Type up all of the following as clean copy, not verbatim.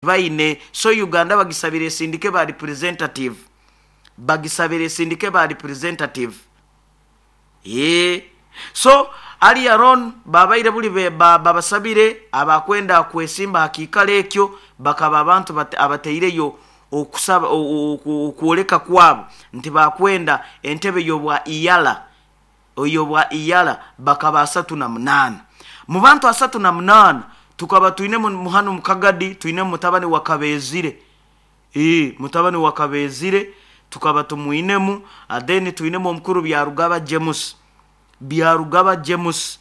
Baine so Uganda bagisabire esindike ba representative, bagisabire esindike ba representative. Eeh so earlier on babaire buli babasabire abakwenda kwesimba ha kiikaro ekyo, bakaba abantu abataireyo okusaba okwoleka kwabo nti bakwenda entebe y'obwa EALA, ey'obwa EALA bakaba 38. Mu bantu 38 tukaba twinemu hanu mu Kagadi twinemu mutabani wa Kabeezire, mutabani wa Kabeezire tukaba tumwinemu, then twinemu omukuru Byarugaba James, Byarugaba James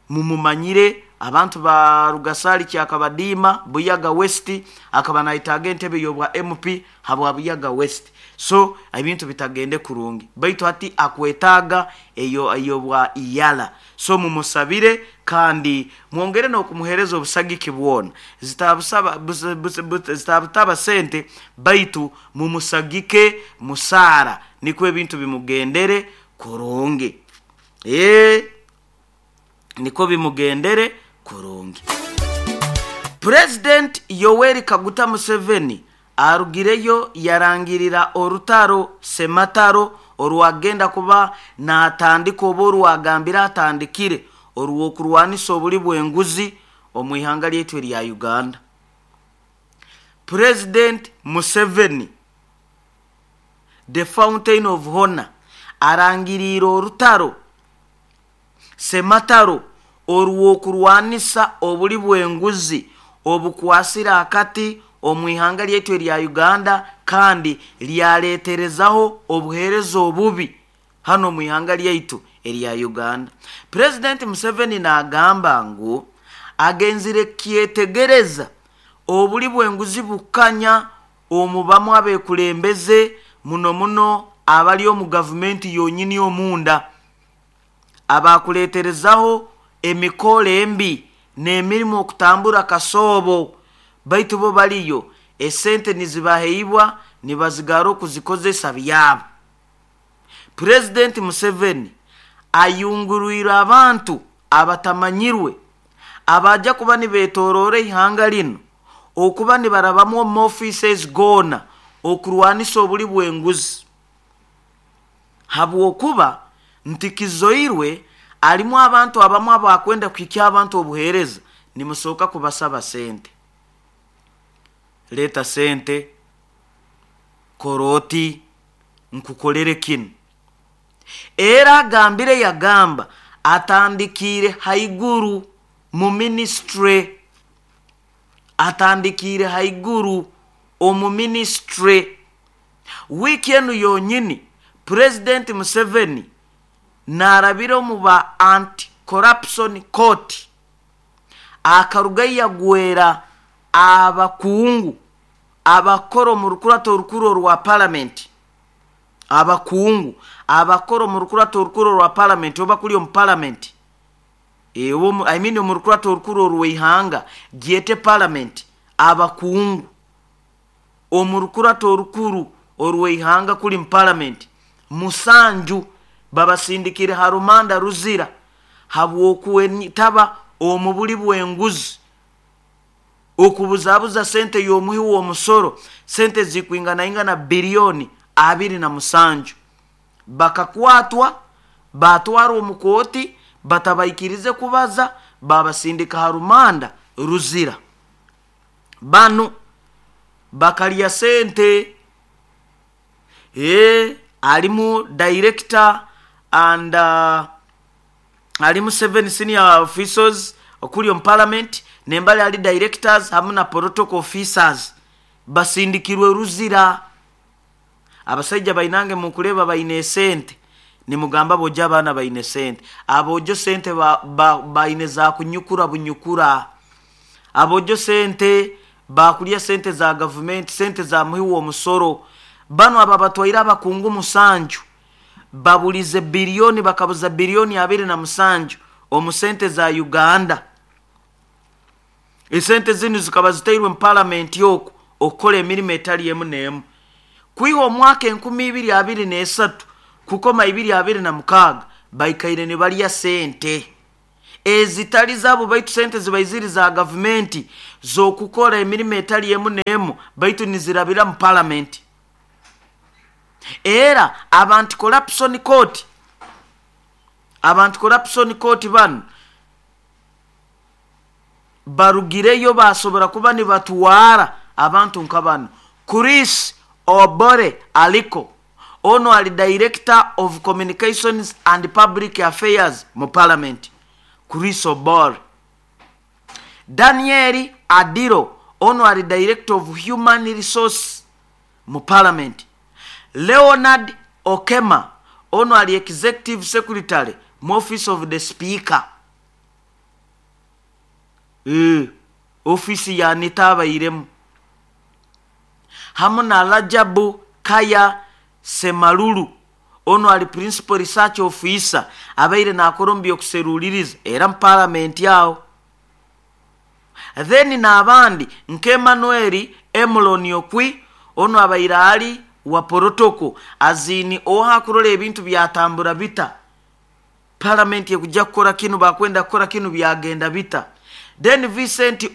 mumumanyire, abantu ba Rugasaali Kyakabadiima, Buyaga West, akaba nayetaaga entebe y'obwa MP habwa Buyaga West. So ebintu bitagende kurungi, baitu hati akwetaaga eyo ey'obwa EALA. So mumusabire kandi mwongere n'okumuheereza obusagiki bwona. Zitabusaba zitabutaba sente, baitu mumusagike musaara nikwo ebintu bimugendere kurungi. Nikwo bimugendere kurungi. Purezidenti Yoweri Kaguta Museveni arugireyo yarangirira orutaro semataro orwagenda kuba natandika oba orwagambire atandikire orw'okurwanisa obuli bw'enguzi omu ihanga lyaitu erya Uganda. Purezidenti Museveni, the fountain of honor, arangiriire orutaro semataro orw'okurwanisa obuli bw'enguzi obukwasire akati omu ihanga lyaitu erya Uganda kandi lyaleterezaho obuheereza obubi hanu omu ihanga lyaitu erya Uganda. Purezidenti Museveni naagamba ngu agenzire kyetegereza obuli bw'enguzi bukanya omu bamu abekulembeze muno muno abali omu gavumenti yonyini omunda abakuleterezaho emikoro embi n'emirimo okutambura kasoobo, baitu bo baliyo esente nizibaheibwa nibazigara okuzikozesa byabo. Purezidenti Museveni ayungurwire abantu abatamanyirwe abaija kuba nibetoroora eihanga linu okuba nibarabamu omu offices goona okurwanisa obuli bw'enguzi, habwokuba nti kizoirwe alimu abantu abamu abakwenda kuhikya abantu obuheereza nimusooka kubasaba sente. Leeta sente, kora oti, nkukolere kinu. Era agambire yagamba atandikiire haiguru mu minisitule, atandikiire haiguru omu minisitule. Wiiki enu yonyini Purezidenti Museveni naarabira omu ba Anti-Corruption Court akarugayo yagwera abakungu abakora omu rukurato orukuru orwa Palamenti, abakungu abakora omu rukurato orukuru orwa Palamenti oba kuri omu Palamenti, I mean omu rukurato orukuru orw'eihanga gyete Palamenti, abakungu omu rukurato orukuru orw'eihanga kuri mu Palamenti 7 babasindikire ha rumanda ruzira habw'okwetaba omu buli bw'enguzi, okubuzabuza sente y'omuhi w'omusoro, sente zikwinganaingana biliyoni 27. Bakakwatwa baatwarwa omu kooti, batabaikirize kubaza, baabasindika ha rumanda ruzira. Banu bakarya sente. Alimu director and alimu 7 senior officials okuli omu Parliament, nembali ali directors hamu na protocol officers basindikirwe ruzira. Abasaija bainange mukureeba baine esente, nimugamba abojo abaana baine sente. Abojo sente baine za kunyukura bunyukura. Abojo sente bakulya sente za gavumenti, sente za muhi w'omusoro. Banu ababatwaire abakungu 7 babulize biliyoni, bakabuza biliyoni 27 omu sente za Uganda. Esente zinu zikaba zitairwe mu Palamenti oku okukora emirimo etali emu n'emu. Kwiha omwaka 2023 kukoma 2026 baikaire nibarya sente ezitali zaabo, baitu sente zibaiziri za gavumenti. z'okukora emirimo etali emu n'emu, baitu nizirabira mu palamenti. Era abantu corruption court, abantu corruption court banu barugireyo basobora kuba nibatwara abantu nka bano. Chris Obore aliko, ono ali director of communications and public affairs mu parliament, Chris Obore. Daniel Adiro, ono ali director of human resource mu parliament. Leonard Okema, ono ali executive secretary mu office of the speaker. Ofisi ya nitabairemu hamu na Rajabu Kaya Semalulu, ono ali principal research officer, abaire nakora omu by'okuseruliriza era mu palamenti aho. Then n'abandi nka Emmanuel Emuloni Okwi, ono abaire ali wa protocol, azini oha kurora ebintu byatambura bita, palamenti ekujja kukora kinu, bakwenda kukora kinu, byagenda bita. Then Vincent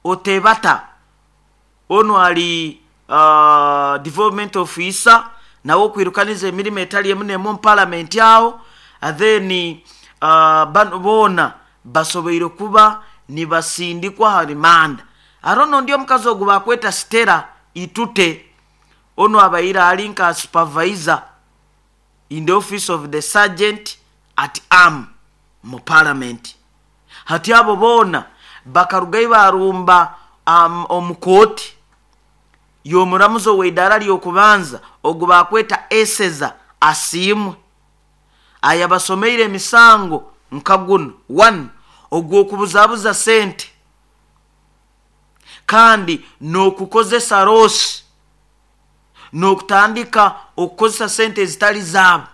Otebata, ono ali development officer, nawe okwirukaniza emirimo etali emu n'emu mu palamenti aho. Then bano boona basoboire kuba nibasindikwa ha rimanda. Arono ndi omukazi ogu bakweta Stella Itute, ono abaire ali nka supervisor in the office of the sergeant at arm mu parliament. Hati abo boona bakarugayo barumba omu kooti y'omuramuzi ow'eidaara ly'okubanza ogu bakweta Eseza Asiimwe, ayabasomeire emisango nka guno: 1 ogw'okubuzabuza sente kandi n'okukozesa rosi, n'okutandika okukozesa sente ezitali zaabo.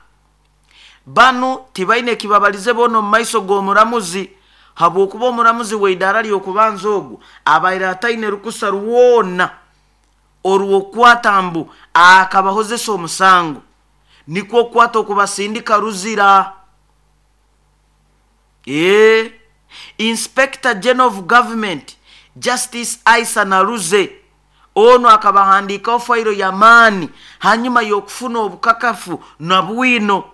Banu tibaine kibabalize boona omu maiso g'omuramuzi, habwokuba omuramuzi w'eidaara ly'okubanza ogu abaire ataine rukusa rwona orw'okukwata mbu akabahozesa omusango, nikwo okukwata okubasindika ruzira. Inspector General of Government Justice Aisa Naruze, ono akabahandiikaho fayiro y'amaani hanyuma y'okufuna obukakafu na bwino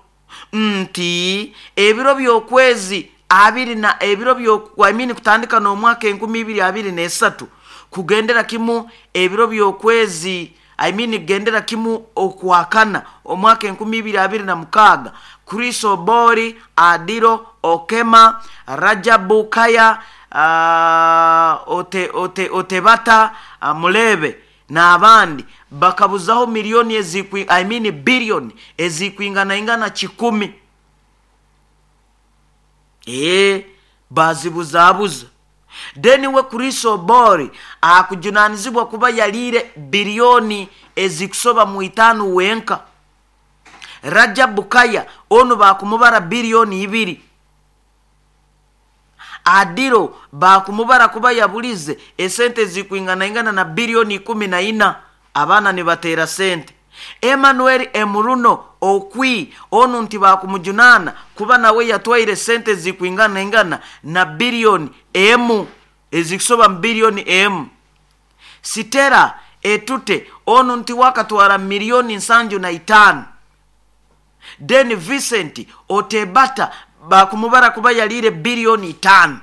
nti ebiro by'okwezi abiri na ebiro byo, I mean, kutandika n'omwaka 2023 kugendera kimu ebiro by'okwezi, I mean, kugendera kimu okwakana omwaka 2026, Chris Obori, Adiro, Okema, Rajabu Kaya, Otebata, Mulebe n'abandi bakabuzaho miliyoni ezikwi, I mean, biliyoni ezikwinganaingana 100. Bazibuzabuza. Then we Chris Obori akujunanizibwa kuba yaliire biliyoni ezikusoba mu 5 wenka. Rajabu Kaya ono bakumubara biliyoni 2. Adiro bakumubara kuba yabulize esente zikwinganaingana na biliyoni 14. Abaana nibatera sente. Emmanuel Emuruno Okwi, onu nti bakumujunana kuba nawe yatwaire sente zikwinganaingana na biliyoni emu, ezikusoba mu biliyoni emu. Sitera Etute onu nti wakatwara miliyoni 75. Then Vincent Otebata bakumubara kuba yaliire biliyoni 5.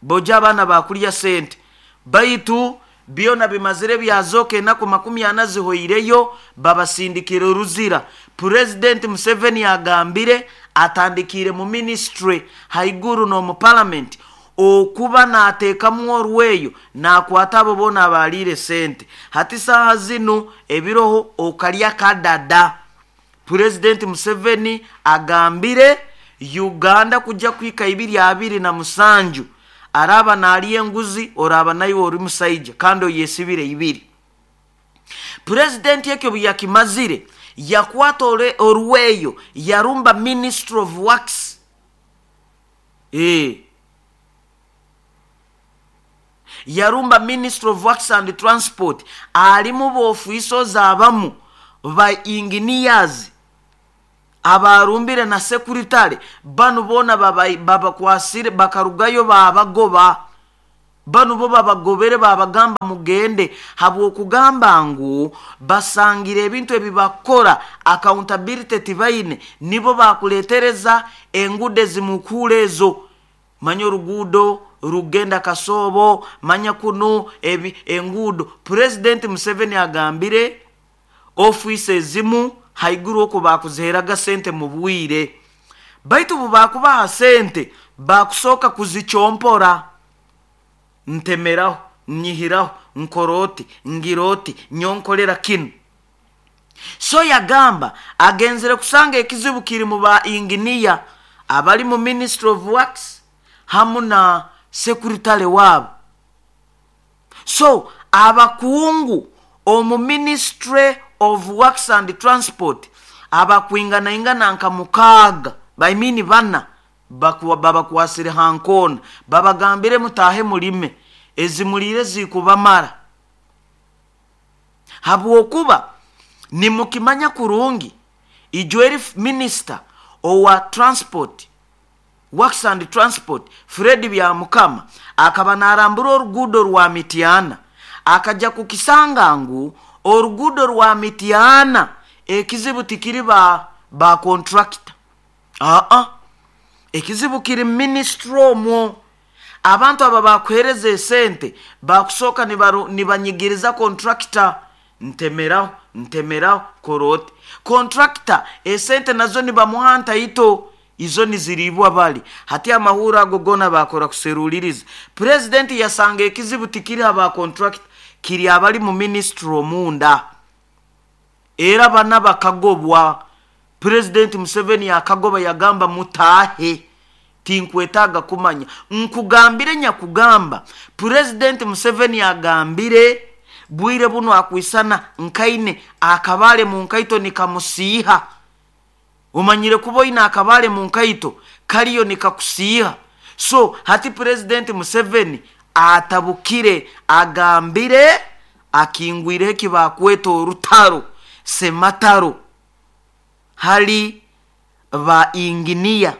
Boja abaana bakulya sente, baitu byona bimazire byazoka enaku 40 zihoireyo, babasindikire ruzira. President Museveni agambire atandikire mu ministry haiguru n'omu parliament okuba nateekamu orweyo nakwata abo boona abaliire sente. Hati saaha zinu ebiroho okalya kadada. President Museveni agambire Uganda kujja kuhika 2027 araba nalya enguzi oraba naiwe ori musaija kandi oyesibire ibiri. President ekyo bwe yakimazire yakwata orweyo yarumba Ministry of Works. Yarumba Ministry of Works and Transport, alimu bofiisozi abamu ba engineers abarumbire na sekuritale, banu boona babakwasire bakarugayo babagoba. Banu bo babagobere, babagamba mugende, habw'okugamba ngu basangire ebintu ebi bakora accountability tibaine. Nibo bakuletereza enguudo ezimukuura ezo, manya oruguudo rugenda Kasoobo, manya kunu ebi enguudo. Purezidenti Museveni agambire ofiisi ezimu haiguru oku bakuziheraga sente mu bwire, baitu bu bakubaha sente bakusooka kuzicyompora, ntemeraho, nyihiraho, nkora oti, ngira oti, nyonkolera kinu. So yagamba agenzere kusanga ekizibu kiri mu ba inginiya abali mu Ministry of Works hamu na sekuritale waabo. So abakungu omu Ministry of Works and Transport abakwinganaingana nka 6, I mean 4, babakwasire ha nkoona, babagambire mutaahe mulime, ezimuliire zikubamara, habwokuba nimukimanya kurungi ijo eri minisita owa transport, Works and Transport, Fred Byamukama, akaba narambura oruguudo rwa Mityana, akajja kukisanga ngu oruguudo rwa Mityana ekizibu tikiri ba contractor, aa, ekizibu kiri ministry omwo. Abantu aba bakuhereza esente bakusooka nibanyigiriza contractor, ntemeraho, ntemeraho, kora oti. Contractor esente nazo nibamuha ntaito, izo niziriibwa bali hati. Amahuro ago goona bakora kuseruliriza, purezidenti yasanga ekizibu tikiri aba contractor, kiri abali mu ministry omunda. Era bana bakagobwa. Purezidenti Museveni akagoba, yagamba mutaahe, tinkwetaaga kumanya. Nkugambire nyakugamba, Purezidenti Museveni agambire bwire buno akwisana nkaine akabaale mu nkaito nikamusiiha. Omanyire kuba oine akabaale mu nkaito kariyo nikakusiiha. So hati Purezidenti Museveni atabukire, agambire akingwireho ekibakweta orutaro semataro hali ba inginiya,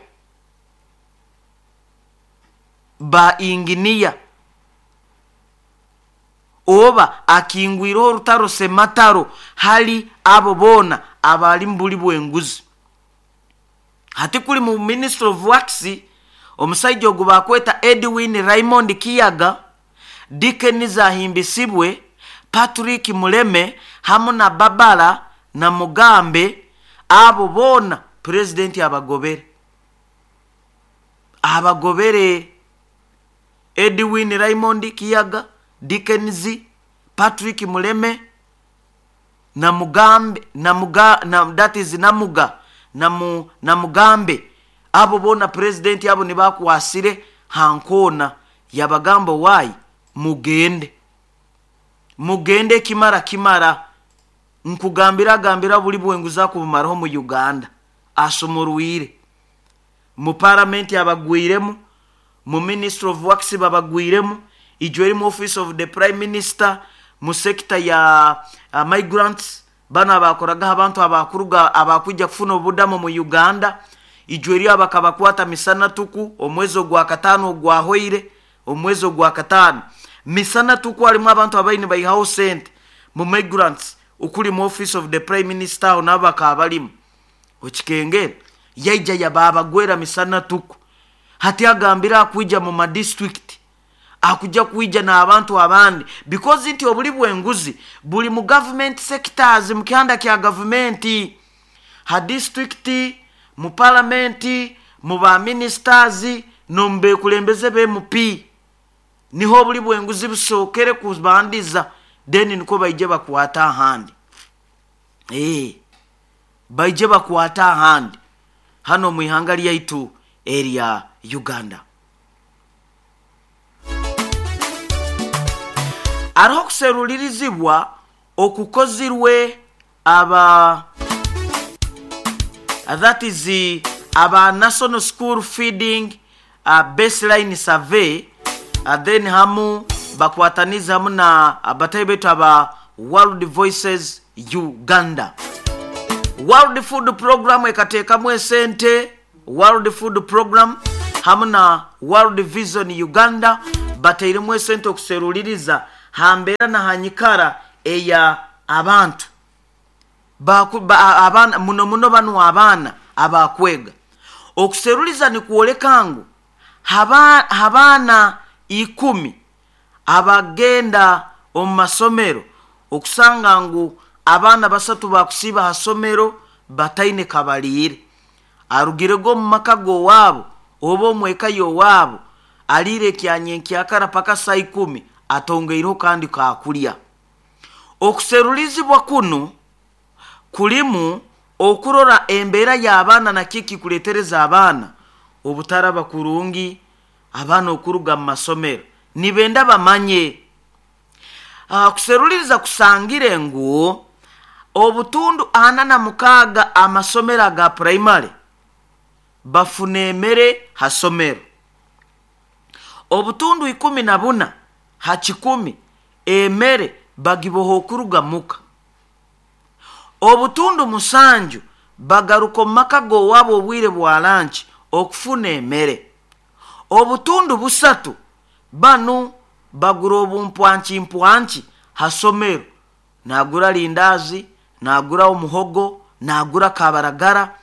ba inginiya, oba akingwireho orutaro semataro hali abo boona abali mu buli bw'enguzi. Hati kuli mu Ministry of Works, omusaija ogu bakweta Edwin Raymond Kiyaga, Dickens Ahimbisibwe, Patrick Muleme hamu na Babara na Mugambe, abo boona purezidenti abagobere, abagobere. Edwin Raymond Kiyaga, Dickens, Patrick Muleme na Mugambe, Namuga, na, that is Namuga, Namu, Namugambe, abo boona purezidenti abo nibakwasire hankoona, yabagamba waayi mugende, mugende, kimara kimara. Nkugambira agambira buli bwenguzi akubumaraho mu Uganda, asumurwire mu paramenti abagwiremu, mu Ministry of Works babagwiremu, ijo eri mu Office of the Prime Minister, mu sector ya migrants, bano abakoragaho abantu abakuruga abakwija kufuna obudamu mu Uganda, ijo eri abakabakwata misana tuku omwezi ogwa 5 ogwahoire, omwezi ogwa 5 misana tuku harimu abantu abaine baihaho sente mu migrants, ukuli mu Office of the Prime Minister aho nabo bakaba barimu okikengera, yaija yababagwera misana tuku. Hati agambira akwija mu madistrict, akujja kwija n'abantu abandi, because nti obuli bw'enguzi buli mu government sectors, mu kihanda kya gavumenti, ha district, mu paramenti, mu ba ministers n'omu bekulembeze b'MP, niho obuli bw'enguzi busookere kubandiza, then niko baije bakwata ahandi. Baije bakwata ahandi hano mu ihanga lyaitu erya Uganda. Hariho okuserulirizibwa okukozirwe aba, that is aba National School Feeding Baseline Survey, then hamu bakwataniza hamu na abatayi baitu aba World Voices Uganda. World Food Program ekateekamu esente, World Food Program hamu na World Vision Uganda. Batairemu esente okuseruliriza ha mbeera na ha nyikara eya abantu abaana, muno muno banu abaana abakwega. Okuseruliza nikwoleka ngu ha baana 10 abagenda omu masomero, okusanga ngu abaana 3 bakusiiba ha somero bataine kabaliire. Arugirege omu maka g'owaabo oba omu eka y'owaabo, aliire ekyanyenkyakara paka saa 10, atongeireho kandi kakulya. Okuserulizibwa kunu kulimu okurora embeera y'abaana nakyo ekikuleetereza abaana obutaraba kurungi, abaana okuruga mu masomero nibenda bamanye. Kuseruliriza kusangire ngu obutundu 46 amasomero aga purayimale bafuna emere ha somero. Obutundu 14 ha kikumi emere bagiboha okuruga muka. Obutundu 7 bagaruka omu maka g'owaabo obwire bwa lanki okufuna emere. Obutundu 3 banu bagura obumpwanki-mpwanki ha somero. Naagura lindaazi, naagura omuhogo, naagura kabaragara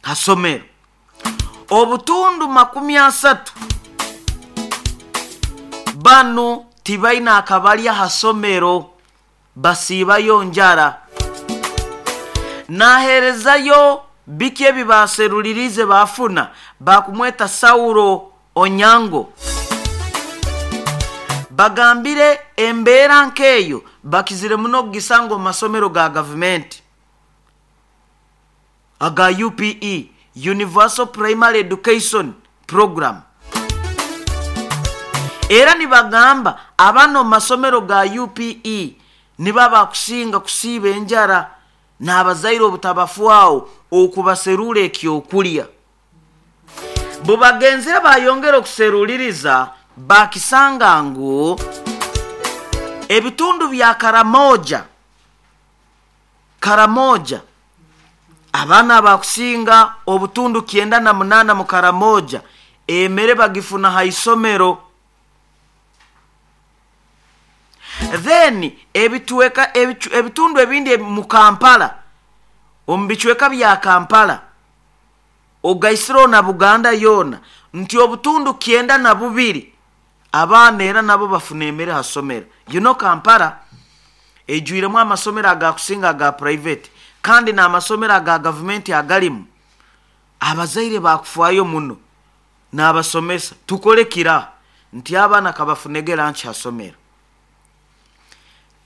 ha somero. Obutundu 30 banu tibaine akabalya ha somero, basiibayo njara. Naaheerezayo biki ebi baaseruliriize baafuna, baakumweta Saulo Onyango. Bagambire embeera nk'eyo bakizire muno okugisanga omu masomero ga gavumenti aga UPE, Universal Primary Education Program. Era nibagamba abaana omu masomero ga UPE nibo abakusinga kusiiba enjara n'abazaire obutabafwaho okubaserura ekyokulya. Bubagenzire bayongera okuseruliriza bakisanga ngu ebitundu bya Karamoja, abaana abakusinga obutundu 98 mu Karamoja emere bagifuna ha isomero. Then ebitundu ebindi mu Kampala, omu bicweka bya Kampala, ogaisireho na Buganda yoona, nti obutundu 92 abaana era nabo bafuna emere ha somero. You know Kampala ejwiremu amasomero agakusinga aga private, kandi n'amasomero aga gavumenti agalimu abazaire bakufaayo muno n'abasomesa. Tukole kira nti abaana kabafunege lanki ha somero.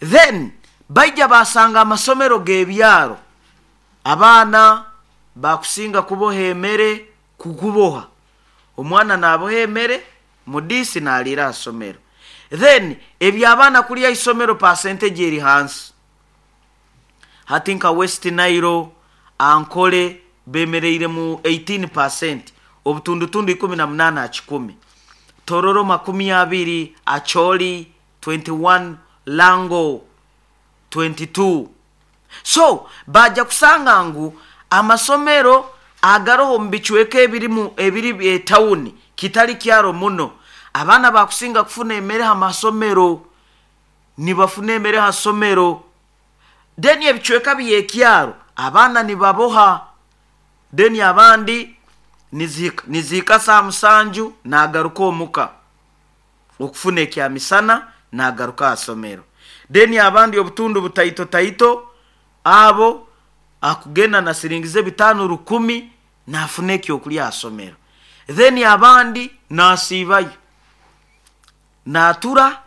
Then baija basanga amasomero g'ebyaro abaana bakusinga kuboha emere, kukuboha. Omwana naaboha emere mudiisi naaliira ha somero. Then eby'abaana kulya ha isomero percentage eri hansi. Hati nka West Nile, Ankole bemereire mu 18%, obutundutundu 18 ha kikumi. Tororo 20, Acholi 21, Lango 22. So baija kusanga ngu amasomero agaroho omu bicweka ebirimu ebiri etawuni kitali kyaro muno, abaana bakusinga kufuna emere ha masomero, nibafuna emere ha somero. Then ebicweka by'ekyaro abaana nibaboha, then abandi nizihika saa 7 naagaruka omuka okufuna ekyamisana naagaruka ha somero. Then abandi obutundu butaito taito abo akugenda na siringi ze 5 1,000 naafuna ekyokulya ha somero. Then abandi naasiibayo, naatura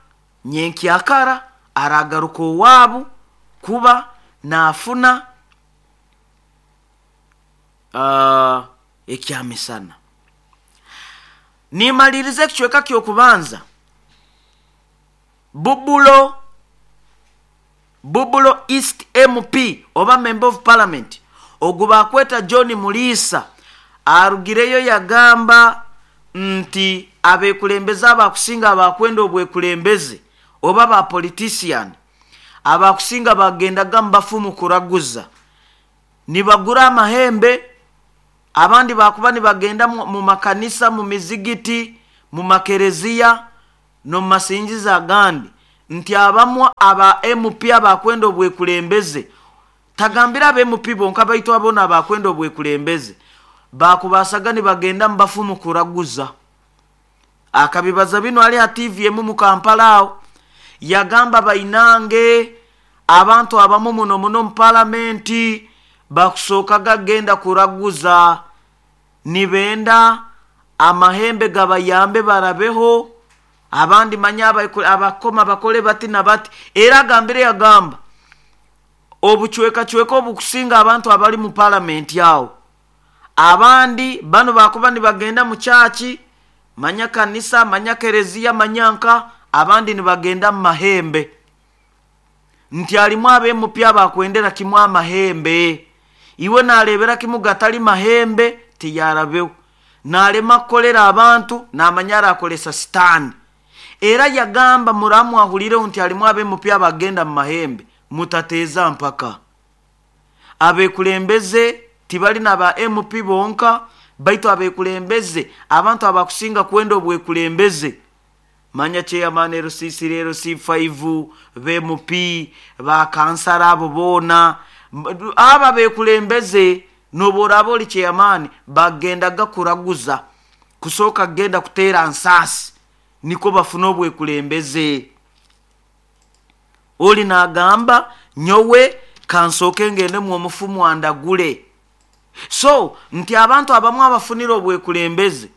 nyenkyakara aragaruka owaabu kuba naafuna ekyamisana. Nimaliriza ekicweka ky'okubanza, Bubulo East MP oba Member of Parliament ogu bakweta John Muriisa arugireyo yagamba nti abekulembeze abakusinga abakwenda obwekulembeze oba ba politician abakusinga bagendaga mu bafumu kuraguza, nibagura amahembe, abandi bakuba nibagenda mu makanisa, mu mizigiti, mu makereziya, N'omumasingiza agandi nti abamu aba MP abakwenda obwekulembeze, tagambira aba MP bonka, baitu abona abakwenda obwekulembeze bakubasaga nibagenda mubafumu kuraguza. Akabibaza bino ali ha TV emu mu Kampala awo, yagamba bainange abantu abamu muno muno mu palamenti bakusookaga genda kuraguza, nibenda amahembe gabayambe barabeho, abandi manya abakoma bakole bati na bati. Era agambire, yagamba obucwekacweka obukusinga abantu abali mu palamenti awo, abandi bano bakuba nibagenda mu kyaki, manya kanisa, manya kereziya, manya nka abandi nibagenda mu mahembe, nti alimu ab'MP abakwendera kimu amahembe, iwe narebera kimu gatali mahembe tiyarabeho, nalema kukolera abantu, namanya arakolesa sitaani. Era yagamba muramu ahulireho nti alimu ab'MP abagenda mu mahembe, mutateeza mpaka abekulembeze tibali naba MP bonka, baitu abekulembeze abantu abakusinga kwenda obwekulembeze, manya chairman LC3, LC5, BMP, bakansara, abo boona aba bekulembeze. Noboraba oli chairman, bagendaga kuraguza, kusooka kugenda kuteera nsaasi niko bafuna obwekulembeze. Oli nagamba nyowe kansooke ngendemu omufumu andagule. So nti abantu abamu abafunire obwekulembeze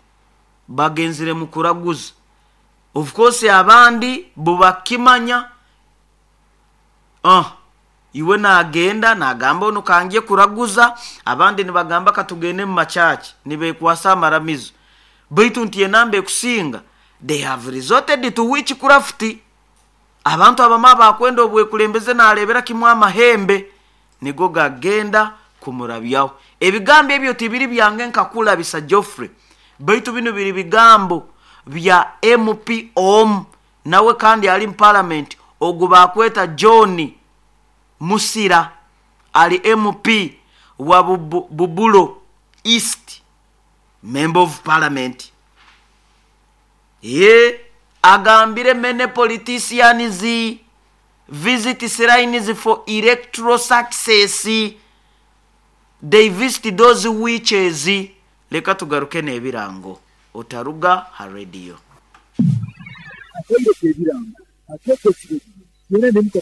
bagenzire mu kuraguza. Of course abandi bubakimanya, iwe nagenda nagamba ono kangye kuraguza, abandi nibagamba katugende mu makyaki nibekwasa amaramizo, baitu nti enamba ekusinga they have resorted to witchcraft. Abantu abamu abakwenda obwekulembeze narebera kimu amahembe nigo gagenda kumurabyaho. Ebigambo ebyo tibiri byange nkakulabisa Geoffrey, baitu bino biri bigambo bya MP om nawe kandi ali mu parliament, ogu bakweta John Musira, ali MP wa Bubulo East, member of parliament. Ye agambire many politicians visit shrines for electoral success, they visit those witches. Leka tugaruke n'ebirango, otaruga ha radio. Akaire k'ebirango akeekesire yena.